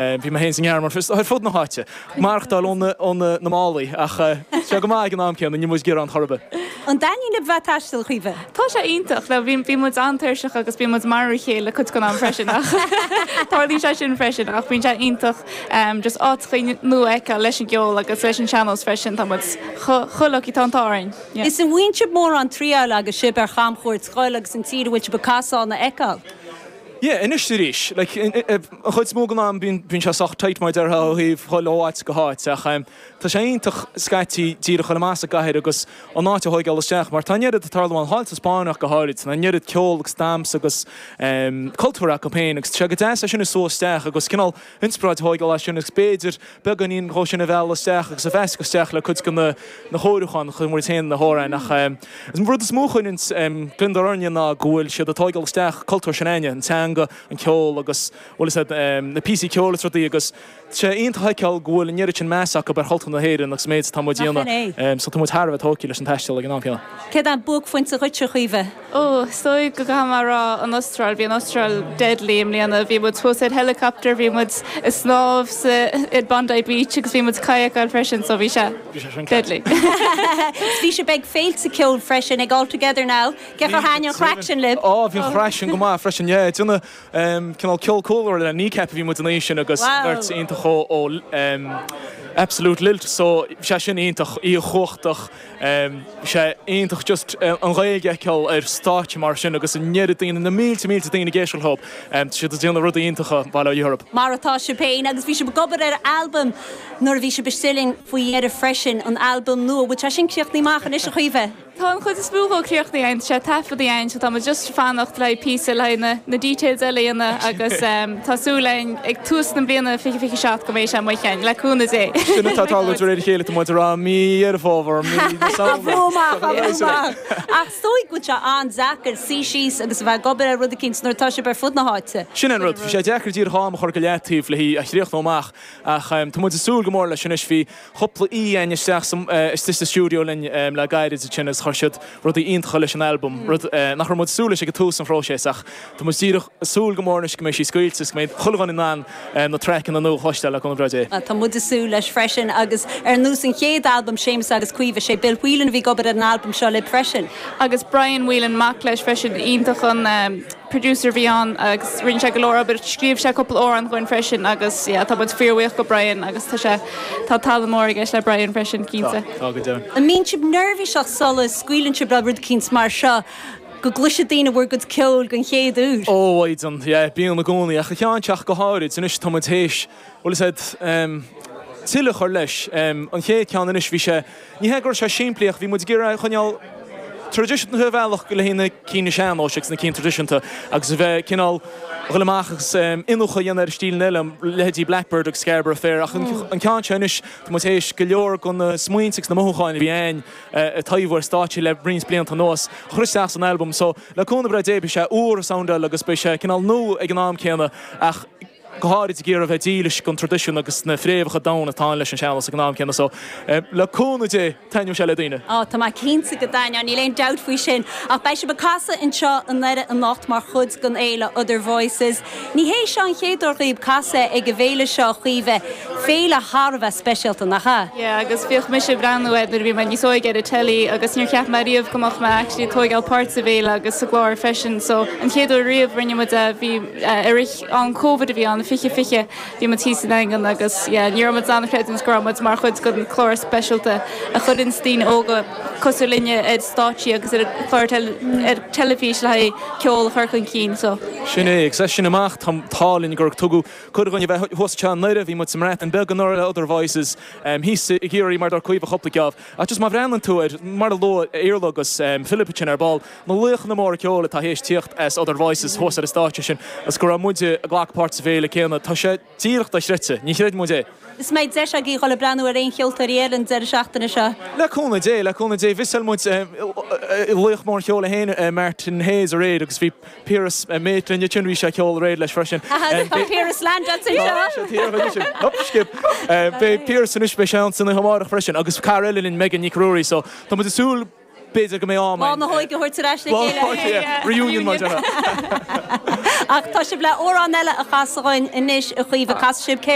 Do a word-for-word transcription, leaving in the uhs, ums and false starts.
Bhí mé féin sa nGearmáin ar fud na háite. Maireachtáil ó na málaí ach sé go maith ag an am céanna, níl muid ag gearán chor ar bith. An dtaitníonn libh bheith ag taisteal, a Chaoimhe? Tá sé iontach. Now bhí bhí muid an-tuirseach agus bíonn muid marú a chéile cuid den am freisin ach tarlaíonn sé sin freisin ach bíonn sé iontach just áiteacha nua a fheiceáil leis an gceol agus leis an sean-nós freisin. Tá muid chomh lucky, tá an t-ádh orainn. Yeah. Is an bhfaigheann sibh mórán triáil agus sibh ar chamchuairt scoil agus an tír a bhfuil sibh ag casadh ann a fheiceáil? Yeah, anois arís, like, an chuid is mó den am bíonn bíonn sé sách tight mar a déarfá ó thaobh dhul ó áit go háit ach tá sé iontach scaití díreach dhul amach as an gcathair agus an áit a thóigeáil isteach mar tá an oiread ag tarlú ann, thall sa Spáinn ach go háirid, tá an oiread ceol agus damhsa agus cultúr acu féin agus tá sé go deas é sin a sú isteach agus cineál inspioráid a thóigeáil as sin agus b'fhéidir beagáinín dhó sin a mhealladh isteach agus a mheascadh isteach le cuid de na na chóiriúcháin a chuir muid féin na hamhráin ach an rud is mó a chuireann gliondar orainne ná go bhfuil siad ag tóigeáil isteach cultúr s'againne, an teanga, an ceol agus bhfuil fhios a'd na píosaí ceoil is rudaí agus tá sé iontach a fheiceáil go bhfuil an oiread sin meas acu ar chultúr na hÉireann agus an méid atá muid a dhéanamh so tá muid thar a bheith tógtha leis an taisteal ag an am céanna. Céard é an buaicphointe dhuitse, a Chaoimhe? Ó, is dóigh go gcaithfidh mé a rá an Astráil. Bhí an Astráil deadly i mbliana. Bhí muid thuas ar helicopter, bhí muid ag snámh sa ar Bondi Beach agus bhí muid ag kayakáil freisin so bhí sé deadly. Bhí sibh ag féilte ceoil freisin, ag All Together Now. Cé chomh thaitin an chraic sin libh? Á, bhí an chraic sin go maith freisin, yeah. Déanamh cineál ceol cúlra le Kneecap a bhí muid an oíche sin agus beirt iontach ó Absolute Lilt so bhí sé sin iontach, oíche chumhachtach. Bhí sé iontach just an Ghaeilge a fheiceáil ar stáitse mar sin agus an oiread daoine, na mílte mílte daoine ag éisteacht leo. Tá siad ag déanamh rudaí iontacha, bail ó Dhia orthu. Mar atá sibh féin agus bhí sibh ag obair ar albam nuair a bhí sibh istigh linn faoi dheireadh freisin, an albam nua. Bhfuil sé sin críochnaithe amach anois a Chaoimhe? Tá an chuid is mó dhó críochnaithe againn, tá sé taifeadta againn so tá muid just ag fanacht le haghaidh píosa le haghaidh na na details eile a dhéanamh agus tá súil againn ag tús na bliana fiche fiche seacht go mbeidh sé amuigh againn, le cúnamh Dé. Sin atá ag tarlú de réir a chéile, tá muid ag rá mí Dheireadh Fómhair, mí na Samhna. Á bhrú amach, á bhrú amach. Ach is dóigh go bhfuil sé an-deacair suí síos agus a bheith ag obair ar rud eicínt nuair atá sibh ar fud na háite. Sin an rud, bhí sé deacair díreach am a chur go leataobh le hí a chríochnú amach ach tá muid ag súil go mór leis anois. Bhí cúpla aoi againn isteach istigh sa stiúideo linn le gairid ansin agus chuir siad rudaí iontacha leis an albam, rud nach raibh muid ag súil leis ag tús an phróiseas ach tá muid díreach ag súil go mór anois go mbeidh sí scaoilte agus go mbeidh chuile dhuine in ann na traiceanna nua a chloisteáil le cúnamh breá Dé. Tá muid ag súil leis freisin agus ar nós an chéad albam Séamus agus Caoimhe, sé Bill Whelan a bhí ag obair ar an albam seo libh freisin. Agus Brian Whelan, mac leis freisin, iontach an producer a bhí ann agus rinne sé go leor obair, scríobh sé cúpla amhrán dhúinn freisin agus yeah tá muid fíorbhuíoch go Brian agus tá sé, tá tallann mór i gceist le Brian freisin, cinnte. Tá, tá go deimhin. An mbíonn sibh neirbhíseach sula scaoileann sibh le rud eicínt mar seo, go gcloisfidh daoine bhur gcuid ceoil den chéad uair? Ó, a mhaighdean, yeah, bíonn i gcónaí, ach an ceann seo go háirid, anois tá muid théis, bhfuil fhios a'd, tuilleadh a chur leis. An chéad ceann anois, bhí sé, ní hé go raibh sé simplí ach bhí muid ag iarraidh coinneáil traidisiúnta ar bhealach le haghaidh na cinn sean-nóis agus na cinn traidisiúnta agus a bheith cineál a dhul amach agus iniúchadh a dhéanamh ar stíleanna eile, leithéidí Blackbird agus Scarborough Fair ach an ceann seo anois, tá muid théis go leor de na smaointe agus na mothúcháin a bhí againn ag taibhiú ar stáitse le roinnt blianta anuas a chur isteach san albam so le cúnamh breá Dé beidh sé úr a soundáil agus beidh sé cineál nua ag an am céanna ach go háirid ag iarraidh a bheith dílis don traidisiún agus na fréamhacha domhain atá ann leis an sean-nós ag an am céanna so le cúnamh Dé taitneoidh sé le daoine. Á, tá mé cinnte go dtaitneoidh, níl aon dabht faoi sin. Ach beidh sibh ag casadh anseo i nDoire anocht mar chuid den fhéile Other Voices. Ní hé seo an chéad uair dhaoib casadh ag an bhféile seo, a Chaoimhe. Féile thar a bheith speisialta, nach ea? Yeah, agus bhíodh mise ag breathnú air nuair a bhí mé níos óige ar an telly agus níor cheap mé riamh go mbeadh mé actually ag tóigeáil páirt sa bhféile agus sa gclár freisin. So an chéad uair riamh rinne muid é, bhí i rith an Covid a bhí ann, fiche fiche, bhí muid thíos sa nDaingean agus yeah ní raibh muid in ann a chreidiúint go raibh muid mar chuid den chlár speisialta a chuireann daoine óga cosúil linne ar stáitsí agus ar chlár ar teilifís le haghaidh ceol a chur chun cinn so. Sin é, agus as sin amach tá an t-ádh linn gur tugadh cuireadh dhúinn a bheith thuas anseo i nDoire, bhí muid sa mBreatain Bheag anuraidh le Other Voices, thíos i gCiarraí mar dúirt Caoimhe cúpla geábh. Ach just má bhreathnaíonn tú ar, mar a luaigh Iarla agus Philip ansin ar ball, na laochanna móra ceoil atá théis tíocht as Other Voices thuas ar an stáitse sin agus go raibh muide ag glacadh páirt sa bhféile céanna, tá sé díreach dochreidte, ní chreideann muid é. Is mbeidh deis agaibh dhul ag breathnú ar aon cheoltóirí eile an deireadh seachtaine seo? Le cúnamh Dé, le cúnamh Dé. Mhiseáil muid laoch mór an cheoil é féin, Martin Hayes aréir agus bhí Piaras mate linn ansin, bhí sé ag ceol aréir leis freisin. Tá Piaras Land anseo! Hop, skip. Beidh Piaras anois, beidh sé ann san oíche amárach freisin agus cara eile linn, Megan Nic Ruairí, so tá muid ag súil b'fhéidir go mbeidh am Lá na hóige a thabhairt ar ais le chéile. Reunion mar Ach tá sibh le amhrán eile a chasadh anois a Chaoimhe casfaidh sibh céard?